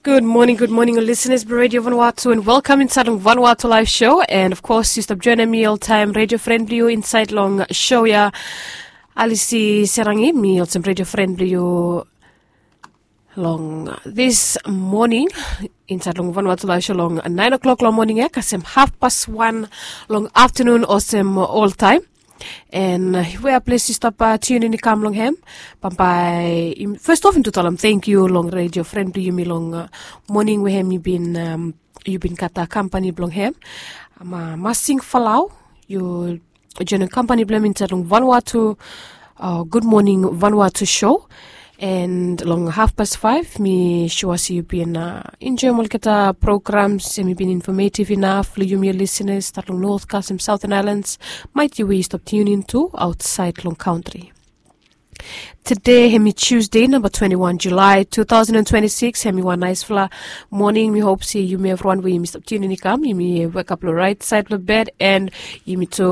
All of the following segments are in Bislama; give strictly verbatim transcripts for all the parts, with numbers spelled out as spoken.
Gud moning, gud moning ol lisenas blong Radio Vanuatu, and welkam insaed long Vanuatu Live Show. And of course yu stap joenem mi oltaem, redio fren blong yu insaed long show ya, Alisi Serangi. Mi olsem redio fren blong yu long this moning insaed long Vanuatu Live Show long naen o'clock long moning ya kasem hafpas wan long aftanun olsem oltaem. And wea ples yu stap tiunin i kam long hem, bambae fes of mi tu talem tangkiu long redio fren blong yumi long moning we hem yu bin yu bin gat kampani blong hem. Masing Falau, yu joenem kampani blong hem insaed long Vanuatu, Gud Moning Vanuatu show. And long hafpas faef mi sua se yu bin enjoem olgeta programs, hem i bin infometiv inaf long yumi ol lisenas stat long North kasem Southern Islands, maet yu we yu stap tiunin tu aotsaed long kantri. Tede hem i Tusde namba twante wan Julae tu taosen twante sikis, hem i wan naesfala moning. Mi hop se yumi evriwan we yumi stap tiunin i kam, yumi wekap long raet saed blong bed, and yumi tu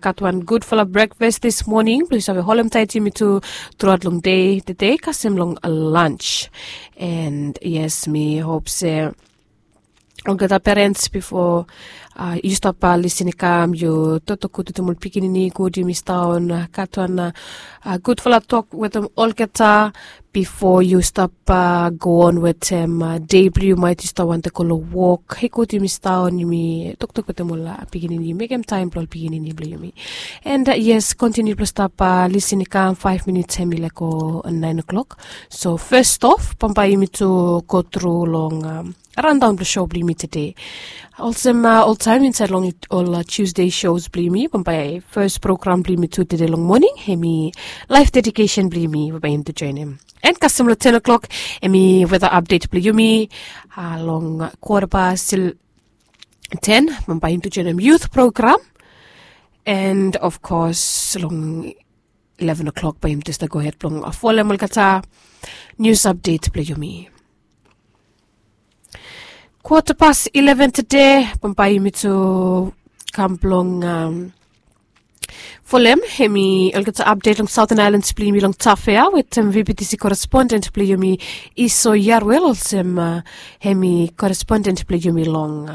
gat wan gudfala brekfas dis moning blong yu save holem taet yumi tu truaot long dei tede kasem long lans. And yes, mi hop se olgeta perens bifo yu stap lisin i kam, yu toktok gud wetem ol pikinini, gud yumi stap on gat wan gudfala tok wetem olgeta bifo yu stap go on wetem dei blong yu, maet yu stap wantem go long wok. He gud yumi stap on, yumi toktok wetem ol pikinini, mekem taem blong ol pikinini blong yumi. And yes, kontiniu blong stap lisin i kam, faef minits hem i laek go naen o'clock. So fes of bambae yumi tu go tru long raondaon blong show blong yumi tede. Olsem oltaem insaed long ol Tusde shows blong yumi, bambae fes program blong yumi tu tede long moning hem i laef dedikesen blong yumi, bambae yumi tu joenem. And kasem long ten o'clock hem i weta apdet blong yumi long kwota past ten, bambae yumi tu joenem yut program. And of kos long ileven o'clock bae yumi tu stap gohed blong folem olgeta nius apdet blong yumi. Kwota past ileven tede bambae yumi tu kam blong folem hem i olgeta apdet long Southern Islands blong yumi long Tafea wetem VBTC koresponden blong yumi, Iso Yarwel, olsem hem i koresponden blong yumi long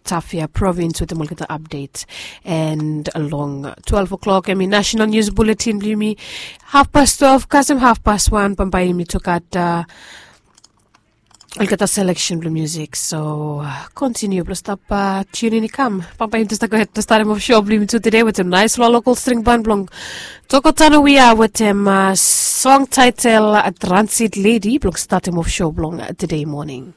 Tafea provins wetem olgeta apdet. And long twelve o'clock hem i nasenal nius buletin blong yumi. Hafpas twelve kasem hafpas wan bambae yumi tu gat olgeta seleksen blong musik. So kontiniu blong stap tiunin i kam, bambae yumi tu stap gohed blong statem of show blong yumi tu tede wetem naesfala lokol string ban blong Tokotano Wia wetem song taetel Transit Ledi blong statem of show blong tede moning.